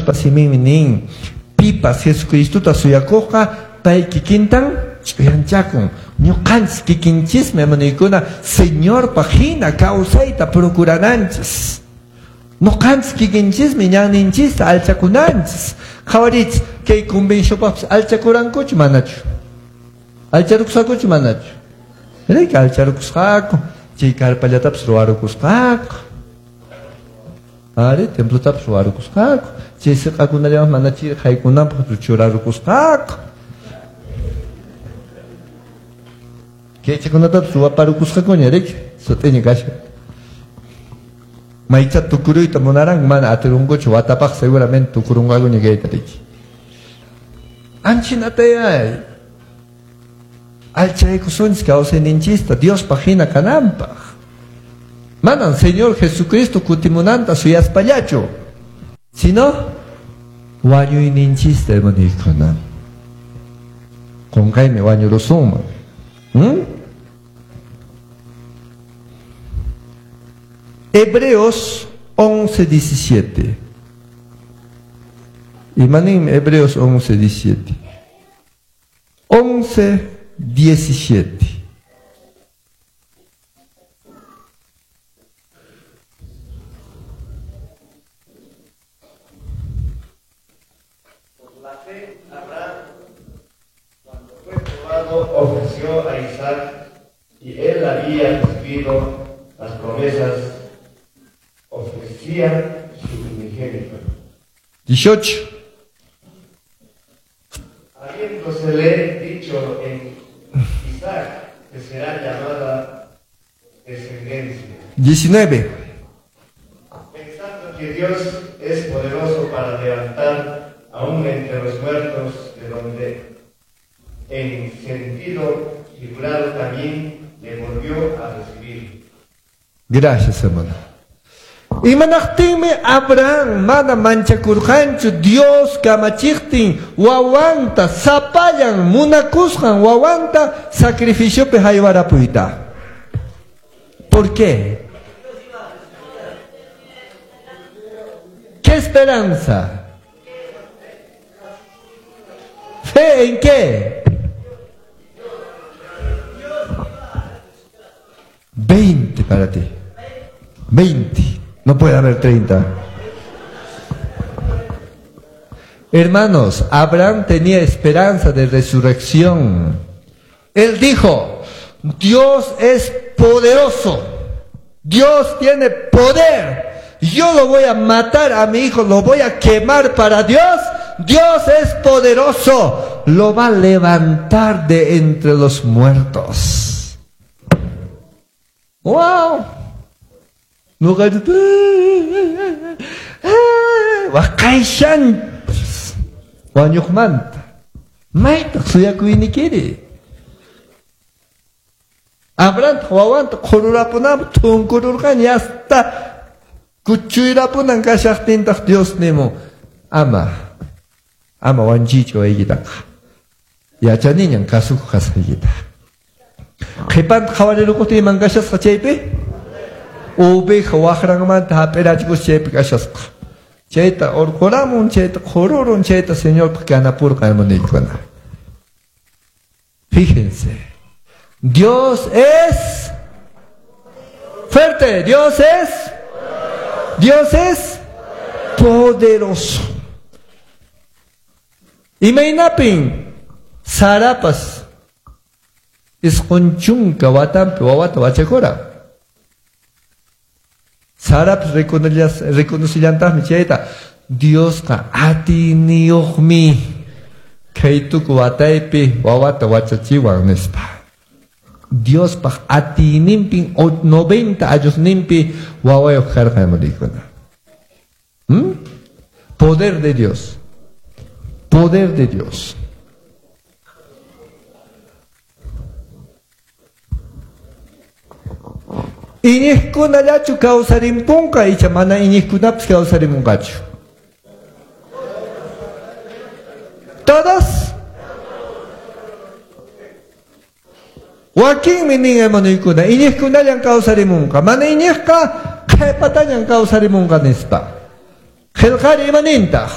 Diospa siminmi nin, pipas Jesucristota suyakuqqa pay kikintan ch'uyanchakun. Ñuqanchis kikinchismi, hermanoykuna, Señorpaq hina kawsayta procurananchis. Ñuqanchis kikinchismi ñanninchista alchakunanchis. Qhawarich, kay convencionpaqpis alchakurankuchu manachu? Alcharukusqakuchu manachu? Riki alcharukusqaku, chay karpallatapis ruwarukusqaku. Ari, templotapis ruwarukusqaku. Chay siq'akunallaman mana chiri haykunanpaq churarukusqaku. Kaychakunatapis ruwaparukusqakuña, riki, sut'iña kashan. Maycha tukuruyta munaranku, mana atirunkuchu, watapaq seguramente tukurunqakuña kayta, riki. Anchinatayay. Alchaykusunchis kawsayninchista Diospaq hina kananpaq. Manan Señor Jesucristo kutimunanta suyaspallachu, sino wañuyninchista, hermanoykuna. Qunqaymi wañurusunman. Hebreos 11:17. Imaninmi Hebreos 11:17? 11:17. Por la fe, Abraham, cuando fue probado, ofreció a Isaac, y él había recibido las promesas, ofrecía su primogénito. 18. Habiéndosele dicho en Isaac que será llamada descendencia. 19. Pensando que Dios es poderoso para levantar aún entre los muertos, de donde en sentido figurado también le volvió a recibir. Gracias, hermano. Imanaqtinmi Abraham mana manchakurqanchu Dios kamachiqtin wawanta sapallan munakusqan wawanta sacrificiopi haywarapuyta. ¿Por qué? ¿Qué esperanza? ¿Fe en qué? 20 para ti. 20. No puede haber 30. Hermanos, Abraham tenía esperanza de resurrección. Él dijo, Dios es poderoso. Dios tiene poder. Yo lo voy a matar a mi hijo, lo voy a quemar para Dios. Dios es poderoso. Lo va a levantar de entre los muertos. ¡Wow! Waqayshan wañuqmanta maytaq suyakuynikiri. Abraham wawanta qhururapunanpaq thunkururqan yasta kuchuyrapunan kashaqtintaq Dios nimun ama wanchichu waykitaqa yachaniñan kasukuq kasqaykita. Qhipanta qhawarirukuqtin iman kashasqa chaypi oveja waqranmanta hap'irachikus chaypi kashasqa. Chayta urquramun, chayta qhururun, chayta Señorpaq kanapurqa, hermanoykuna. Fíjense, Dios es fuerte, Dios es poderoso. Imaynapin Sarapas isqun chunka watanpi wawata wachakura. Sarapas reconocillantaqmi chayta. Diosqa atiniyuqmi kay tuku wataypi wawata wachachiwan nispa. Diospaq atiyninpin 90 añosninpi wawayuq karqa, hermanokuna. Poder de Dios. Poder de Dios. Iñiqkunallachu kawsarimpunqa icha mana iñiqkunapas kawsarimunqachu? Todos. Wakinmi nin hermanoykuna, iñiqkunallan kawsarimunqa, mana iñiqqa qhipatañan kawsarimunqa nispa. Qillqari imanintaq?